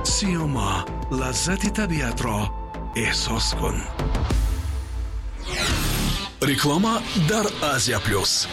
Сиёма, лаззати табиатро эҳсос кун. Реклама дар Азия Плюс.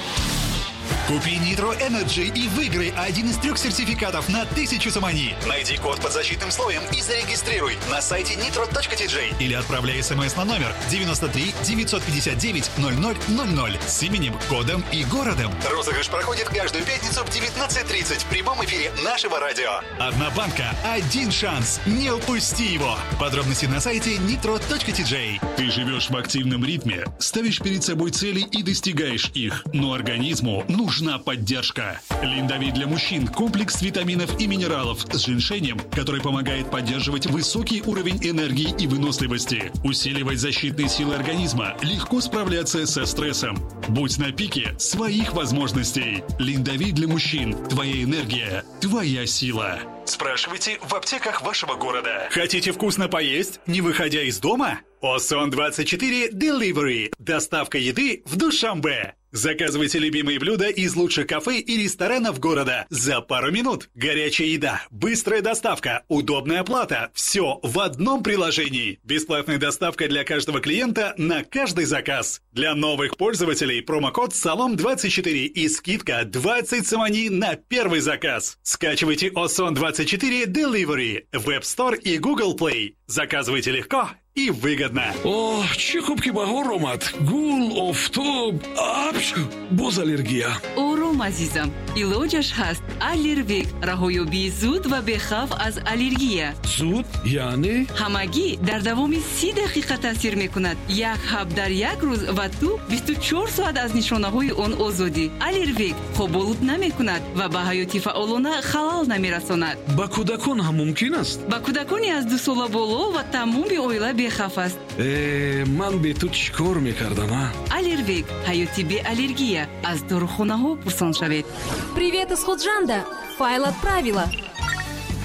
Купи Nitro Energy и выиграй один из трех сертификатов на 1000 сомони. Найди код под защитным слоем и зарегистрируй на сайте nitro.tj или отправляй смс на номер 93 959 0000 с именем, кодом и городом. Розыгрыш проходит каждую пятницу в 19:30 в прямом эфире нашего радио. Одна банка, один шанс. Не упусти его. Подробности на сайте nitro.tj. Ты живешь в активном ритме, ставишь перед собой цели и достигаешь их, но организму нужна поддержка. Линдовит для мужчин – комплекс витаминов и минералов с женьшенем, который помогает поддерживать высокий уровень энергии и выносливости, усиливать защитные силы организма, легко справляться со стрессом. Будь на пике своих возможностей. Линдовит для мужчин – твоя энергия, твоя сила. Спрашивайте в аптеках вашего города. Хотите вкусно поесть, не выходя из дома? Осон24 Delivery. Доставка еды в Душанбе. Заказывайте любимые блюда из лучших кафе и ресторанов города за пару минут. Горячая еда, быстрая доставка, удобная оплата. Все в одном приложении. Бесплатная доставка для каждого клиента на каждый заказ. Для новых пользователей промокод САЛОМ24 и скидка 20 сомони на первый заказ. Скачивайте Осон24 Delivery в App Store и Google Play. Заказывайте легко и выгодно. Оҳ, чӣ хуб, ки баҳор омад. Гул, офтоб, апч, боз аллергия. Ором, азизам, илоҷаш ҳаст. Аллервек — раҳоёбии зуд ва бехавф аз аллергия. Зуд яъне? Ҳамагӣ дар давоми 30 дақиқа таъсир мекунад. Як ҳаб дар як рӯз, ва ту 24 соат аз нишонаҳои он озодӣ. Аллервек хоболуд намекунад ва ба ҳаёти фаъолона халал намерасонад. Ба кӯдакон ҳам мумкин аст? Ба кӯдакони аз 2 сола боло ва тамоми оила бехавф аст. Э, ман бе ту чӣ кор мекардам, а? Аллервек — ҳаёти беаллергия. Аз дорухонаҳо пурсон шавед. Привет из Худжанда! Файл отправила.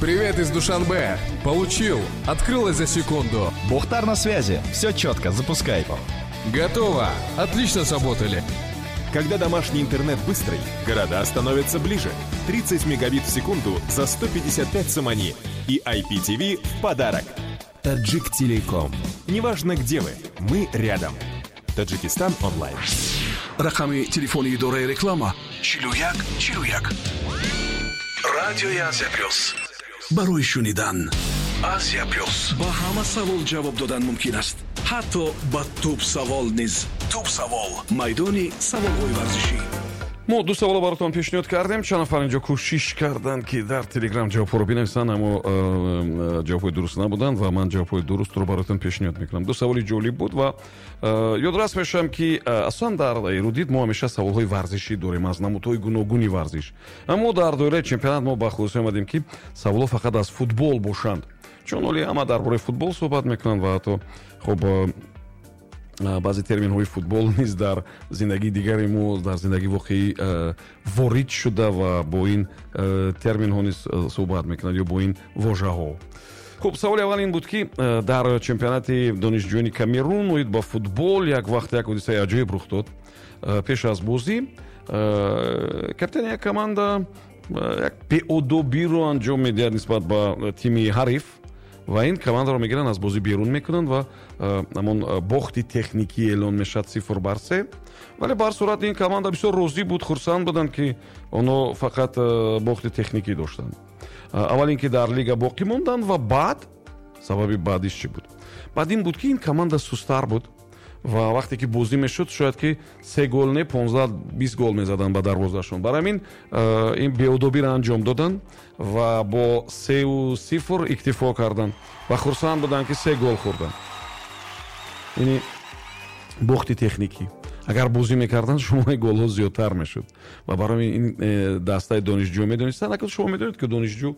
Привет из Душанбе. Получил. Открылось за секунду. Бухтар на связи. Все четко, запускай. Готово. Отлично сработали. Когда домашний интернет быстрый, города становятся ближе. 30 мегабит в секунду за 155 сомони. И IPTV в подарок. Таджик Телеком. Неважно, где вы, мы рядом. Таджикистан онлайн. Рақами телефони идораи реклама: 41 41. Радиои Азия Плюс барои шунидан. Азия Плюс, ба ҳама савол ҷавоб додан мумкин аст, ҳатто ба туп савол низ. Туп савол — майдони саволҳои варзишӣ. Мо ду саволо баротон пешниҳод кардем. Чанд нафар инҷо кӯшиш карданд, ки дар Телеграм ҷавобҳоро бинависанд, аммо ҷавобҳои дуруст набуданд ва ман ҷавобҳои дурустро баротон пешниҳод мекунам. Ду саволи ҷолиб буд ва ёдрас мешавам, ки асосан дар Эрудит мо ҳамеша саволҳои варзишӣ дорем аз намудҳои гуногуни варзиш, аммо дар доираи чемпионат мо ба хулоса омадем, ки саволҳо фақат аз футбол бошанд, чун ҳоли ҳама дар бораи футбол суҳбат мекунанд ва ҳатто хуб, баъзе терминҳои футбол низ дар зиндагии дигари мо, дар зиндагии воқеӣ ворид шуда ва бо ин терминҳо низ суҳбат мекунанд ё бо ин вожаҳо. Хуб, саволи аввал ин буд, ки дар чемпионати донишҷӯёни Камерун оид ба футбол як вақт як ҳодисаи аҷоиб рух дод. Пеш аз бозӣ капитани як команда як беодобиро анҷом медиҳад нисбат ба тими ҳариф ва ин командаро мегиранд, аз бозӣ берун мекунанд ва ҳамон бохти техникӣ эълон мешавад, 0 бар 3. Вале ба ҳар сурат ин команда бисёр розӣ буд, хурсанд буданд, ки онҳо фақат бохти техникӣ доштанд. Аввал ин ки дар лига боқӣ монданд ва баъд сабаби баъдиш чӣ буд? Баъд ин буд, ки ин команда сустар буд ва вақте ки бозӣ мешуд, шояд ки се гол не, 15-20 гол мезаданд ба дарвозашон. Барои ҳамин ин беодобиро анҷом доданд ва бо 3-0 иктифо карданд ва хурсанд буданд, ки се гол хӯрданд, яъне бохти техникӣ. Агар бозӣ мекарданд, шумораи голҳо зиёдтар мешуд. Ва барои ин дастаи донишҷӯ медонистанд. Акн шумо медонед, ки донишҷӯ